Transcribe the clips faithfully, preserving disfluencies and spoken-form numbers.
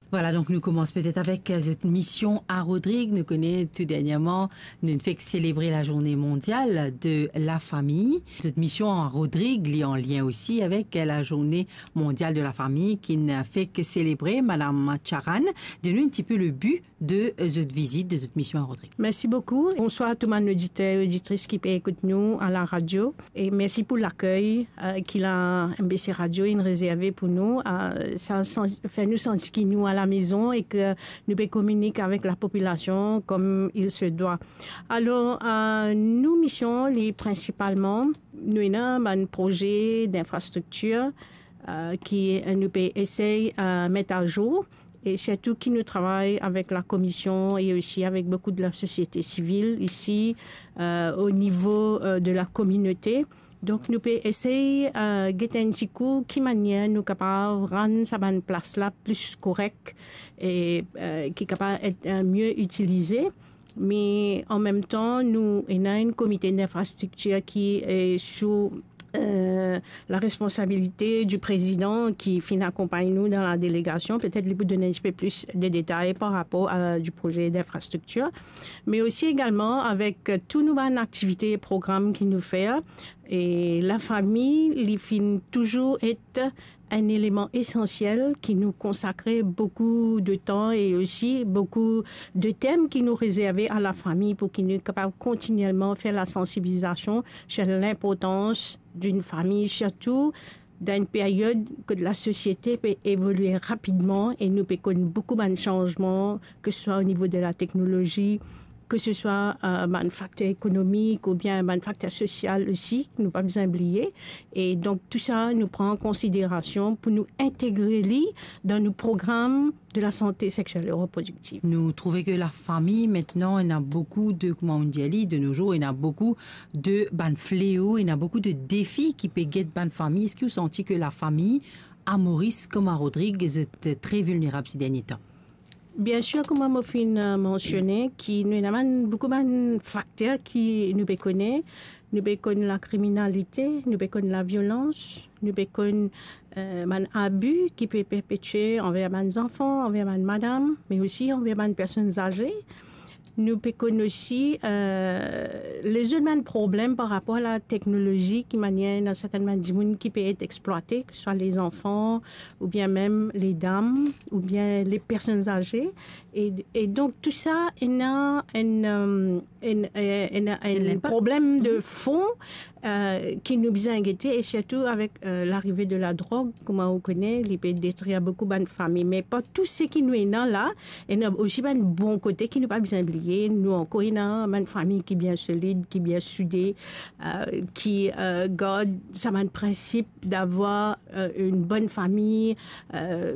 Vwala, donk nou koumans petet avek, eh, zot mision a Rodrig. Nou kone tou dernyerman, nou fek selebre la Journée Mondiale de la Famille. Zot mision a Rodrig, li an lien osi avek, eh, la Journée Mondiale de la Famille ki nou fek selebre. Madam Charan, donn nou enn tipe le bi de, eh, zot vizit, de zot mision a Rodrig. Mersi boukou. Bonswar tou bann oditer e oditris ki pe ekout nou a la radio. E mersi pou lakey, eh, ki la M B C Radio inn rezerve pou nou. Eh, sa, sa fer nou santi ki nou a la mezon e ke nou pe kominik avek lapopilasion comme il se doit. Alor, eh, nou mision, li prinsipalman, nou ena bann proze d'infrastriktir, eh, ki, eh, nou pe esey, eh, met azour. E sirtou ki nou travay avek la komision e osi avek boukou de la sosiete sivil isi, eh, o nivo, eh, de la kominote. Donk, nou pe esey, eh, get enn ti kou ki manier nou kapav rann sa bann plas la plis korek e, eh, ki kapav et, eh, mie itilize. Me an mem tan, nou ena enn komite d'infrastriktir ki, eh, sou, eh, la responsabilite di prezidan ki finn akonpagn nou dan la delegasion. Petet li pou donn enn tipe plis de detay par rapor a di proze d'infrastriktir. Me osi egalman avek tou nou bann aktivite e program ki nou fer. E lafami, li finn touzour et enn eleman esansiel ki nou konsakre boukou de tan e osi boukou de tem ki nou rezerve a lafami pou ki nou kapav kontinielman fer lasansibilizasion sur l'inportans d'une famille, sirtou dan enn period kot lasosiete pe evolie rapidman e nou pe konn boukou bann sanzman, ke se swa o nivo de la teknolozi, ke se swa, eh, bann fakter ekonomik oubien bann fakter sosial osi, nou pa bizin bliye. E donk, tou sa, nou pran an konsiderasion pou nou integre li dan nou program de la sante sexiel e reprodiktiv. Nou trouve ke lafami, aster, ena boukou de, kouma nou dir li, de nos jours, ena boukou de bann fleo, ena boukou de defi ki pe get bann fami. Eski ou santi ke lafami a Moris kouma Rodrig, zot tre vilnerab se dernie tan? Biensir, kouma mo finn, eh, mansione, ki nou ena bann, boukou bann fakter ki nou pe kone. Nou pe konn lakriminalite, nou pe konn laviolans, nou pe konn, eh, bann abi ki pe perpetie anver bann zanfan, anver bann madam, me osi anver bann personn aze. Nou pe konn osi, eh, lezot bann problem par rapor a lateknolozi, ki manier ena sertenn bann dimoun ki pe et explwate, ke se swa lezanfan, oubien mem ledam, oubien lepersonn aze. E, e donk, tou sa, ena enn, eh, enn, eh, enn, enn problem de fon, eh, ki nou bizin gete, e sirtou avek, eh, larive de ladrog, kouma ou kone, li pe detrir boukou bann fami. Me pa tou seki nou ena la, ena osi bann bon kote ki nou pa bizin bliye. Nou ankor ena bann fami ki bien solid, ki bien soude, eh, ki, eh, gard sa bann prinsip d'avoir, eh, une bonne famille, eh,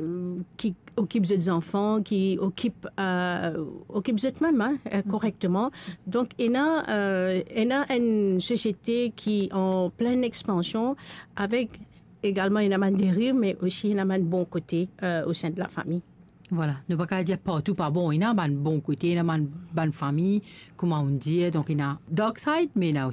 ki okip zot zanfan, ki okip, eh, okip zot mem, hein, eh, korekteman. Donk, ena, eh, ena enn sosiete ki an plin expansion, avek egalman ena bann deriv, me osi ena bann bon kote, eh, o sein de lafami. Vwala, nou pa kapav dir partou pa bon, ena bann bon kote, ena bann, bann fami, kouma nou dir, donk ena dark side, me ena osi